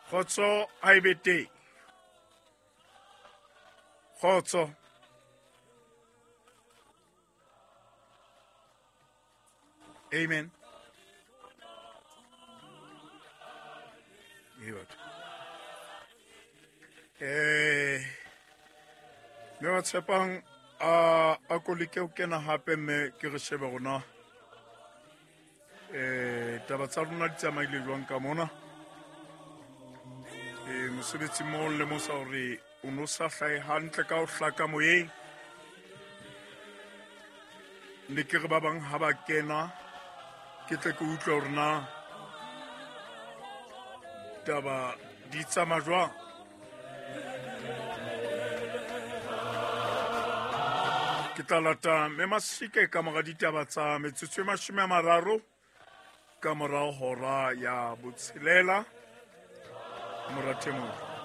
Kgotso ha e be teng. Kgotso. Amen. Ee batho. Mme ba tshepang a ko leke ho kena hape mme ke re shebe rona taba tsa rona di tsamaile jwang ka mona. Mosebetsi mo lemosa hore o no sa hlahe hantle ka ho hlaka moyeng. Ne ke re ba bang ha ba kena ke tle ke utlwe hore na taba di tsamaya jwang. Ke tla lata mme Masike ka mora ditaba tsa metsotso e 30 ka mora hora ya botshelela. Morathemong.